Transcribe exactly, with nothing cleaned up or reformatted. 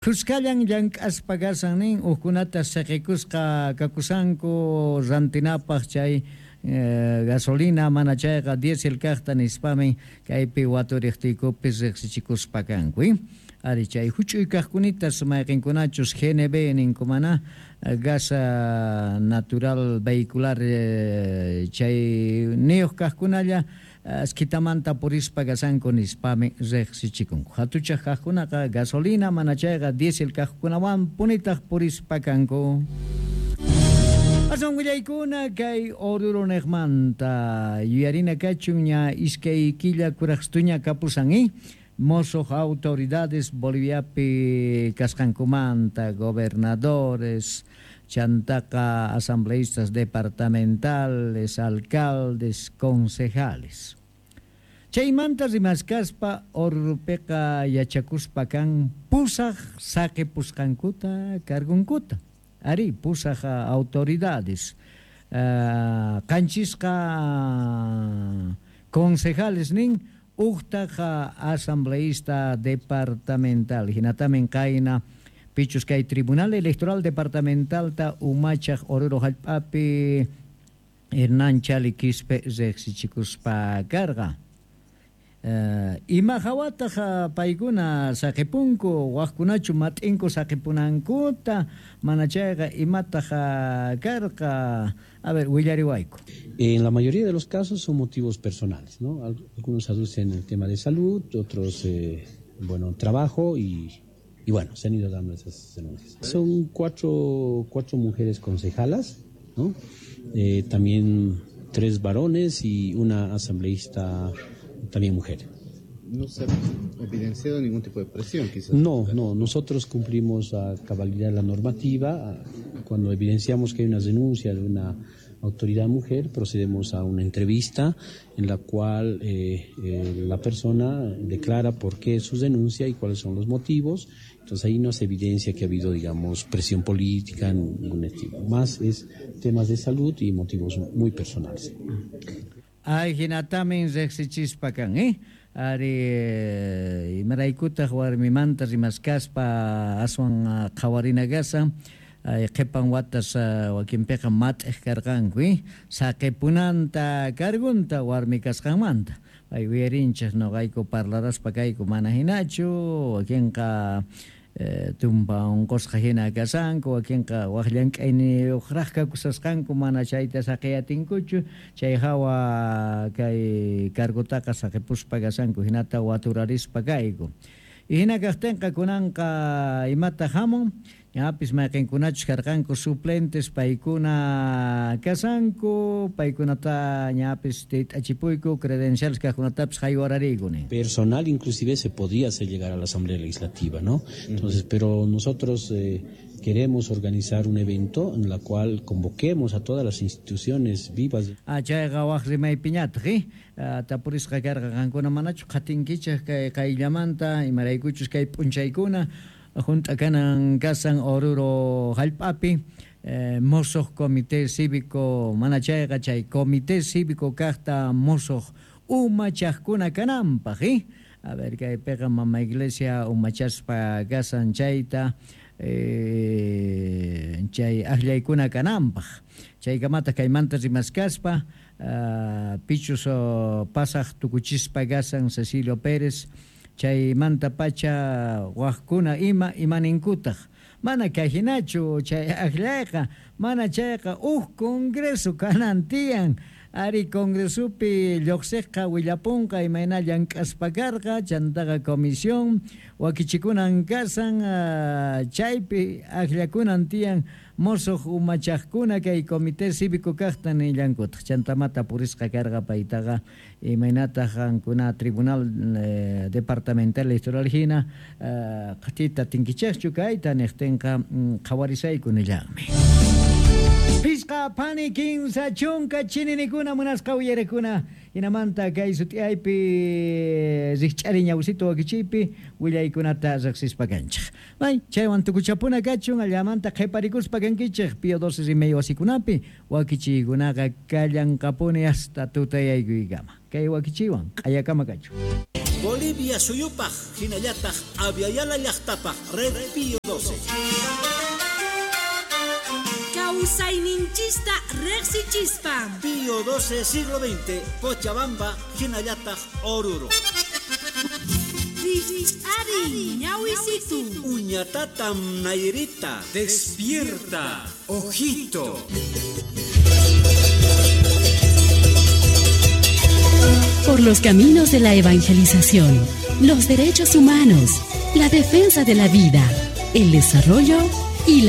Khushkallan llank'aspa kasan nin hukkunata siqikusqa kakusanku rantinapaq chay eh, gasolina mana chayqa diésel kaqta nispamin kaypi waturiqtiykupis riqsichikuspa kanku eh? Ari chay huch'uy kaqkunitas mayqinkunachus G N B ninkumana gas natural vehicular eh, chay niyuq kaqkunalla askitamanta purispa kasanku nispami riqsichikunku. Hatuchaq kaqkunaqa gasolina mana chayqa diésel kaqkunawan punitaq purispa kanku. Aswan willaykuna kay Oruro niqmanta yuyarina kachun ña iskay killa kuraqstuña kapusan eh? Mosoq autoridades Boliviapi kasqankumanta gobernadores chantaqa asambleístas departamentales, alcaldes, concejales. Chaymanta rimaskaspa Oruropiqa yachakuspa kan pusaq saqipusqankuta cargunkuta. Ari pusaq autoridades. Uh, qanchisqa concejales nin uqtaqa asambleísta departamental. Hinatamin kayna pichus kay Tribunal Electoral Departamental ta umachaq Oruro hallp'api Hernán Chali Quispe riqsichikuspa karqa. Uh, ima hawataq paykuna saqipunku waqkunachu mat'inku saqipunankuta mana chayqa imataq karqa. A ver, willariwayku. En la mayoría de los casos son motivos personales, ¿no? Algunos aducen el tema de salud, otros, eh, bueno, trabajo y, y bueno, se han ido dando esas denuncias. Son cuatro, cuatro mujeres concejalas, ¿no? Eh, también tres varones y una asambleísta también mujer. ¿No se ha evidenciado ningún tipo de presión, quizás? No, no, nosotros cumplimos a cabalidad la normativa. Cuando evidenciamos que hay una denuncia de una autoridad mujer, procedemos a una entrevista en la cual eh, eh, la persona declara por qué su denuncia y cuáles son los motivos. Entonces ahí no se evidencia que ha habido, digamos, presión política, ningún tipo. Más es temas de salud y motivos muy personales. Ay, hinatamin riqsichispa kan, eh? Ari imaraykutaq warmimanta rimaskaspa aswan qhawarina kasan qhipan watas wakinpiqa mat'iq karqanku, eh? Saqipunanta cargunta warmi kasqanmanta. Ay uyarinchik noqayku parlaraspa kayku mana hinachu, wakinqa eh, tumpa unqusqa hina kasanku, wakinqa waq llank'ayniyuqraq kakusasqanku mana chayta saqiyatinkuchu, chay hawa kay cargutaqa saqipuspa kasanku hinata waturarispa kayku. Hina kaqtinqa kunanqa imata hamun, ñapis mayqinkunachus karqanku suplentes paykuna kasanku, paykunata ñapis tit'achipuyku credenciales kaqkunatapis haywarariyku nin. Personal inclusive se podía hacer llegar a la Asamblea Legislativa, ¿no? Entonces, pero nosotros eh, queremos organizar un evento en la cual convoquemos a todas las instituciones vivas. Ah, chayqa waq rimaypiñataq, eh? Tapurisqa karqa qankuna manachu qatinkichaq kay qayllamanta imaraykuchus kay p'unchaykuna junt'a kanan kasan Oruro hallp'api eh, mosoq comité cívico mana chayqa chay comité cívico kaqta mosoq umachaqkuna kananpaq, eh? A ver kaypiqa mama iglesia umachaspa kasan chayta eh, chay akllaykuna kananpaq. Chaykamata kaymanta rimaskaspa uh, pichus uh, pasaq tukuchispa kasan Cecilio Pérez chaymanta pacha waqkuna ima imaninkutaq mana kayhinachu chay akllayqa mana chayqa huk congreso kanan tiyan. Ari congresupi lluqsiqqa willapunqa imayna llank'aspa karqa chantaqa comisión wakichikunan kasan uh, chaypi akllakunan tiyan mosoq umachaqkuna kay comité cívico kaqta nillankutaq chantamata purisqa karqa paytaqa imaynataq qankuna tribunal eh, departamental electoral hina uh, qatita tinkichaqchu kayta niqtinqa qhawarisayku nillanmi. Pisqa pani kinsa chunka chininikuna munasqa uyarekuna hinamanta kay sut'iyaypi rikch'ari ñawsito wakichiypi willaykunata riqsispa kanchik. May chaywan tukuchapuna kachun allamanta qhiparikuspa kankichik Pío doce rimaywasikunapi wasikunapi wakichiykunaqa kallanqapuni hasta tutayaykuykama. Kay wakichiywan q'ayakama kachun. Bolivia suyupaq hinallataq Abya Yala llaqtapaq Red Pío doce. Kawsayninchista riqsichispa. Pío doce siglo veinte, Cochabamba, hinallataq Oruro. Ari, ñawisitu. Uñatatam Nairita. Despierta, ojito. Por los caminos de la evangelización, los derechos humanos, la defensa de la vida, el desarrollo